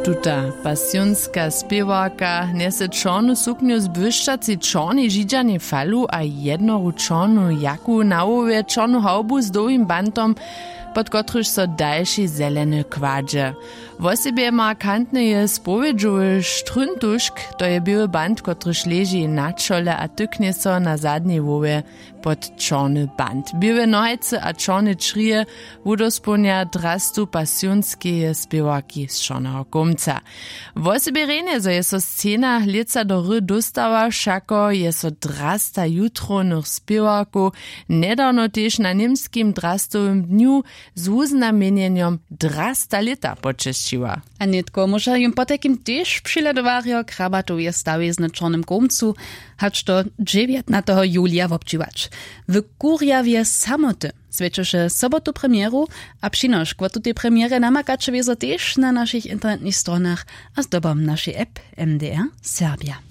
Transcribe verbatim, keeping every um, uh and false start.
Tuta pasionska spěwarka njese čornu suknju z błyšćacej čornej židźanej falu a jednoru čornu jaku na hłowje, čornu hawbu z dołhim bantom, pod kotryž so dalši zeleny kładźe. Wosebje markantny je spowědźowy štryntušk, to je běły bant, kotryž leži na čole a tyknje so na zadnjej hłowje pod čorny bant. Běłe nohajcy a čorne črije wudospołnja drastu pasionskeje spěwarki z čorneho kołmca. Wosebje rjenje, zo je so scena lětsa do hry dóstała, wšako je so drasta jutrownych spěwarkow njedawno tež na němskim drastowym dnju z wuznamjenjenjom drasta lěta počesćiła. A nětko móža jim potajkim tež přihledowarjo krabatoweje stawizny w čornym kołmcu hač do dźewjatnateho julija wobdźěłać. W kurjawje samoty swjećeše sobotu premjeru, a přinošk wo tutej premjerje namakaće wězo tež na našich internetnych stronach a zdobom našej app. M D R Serbja.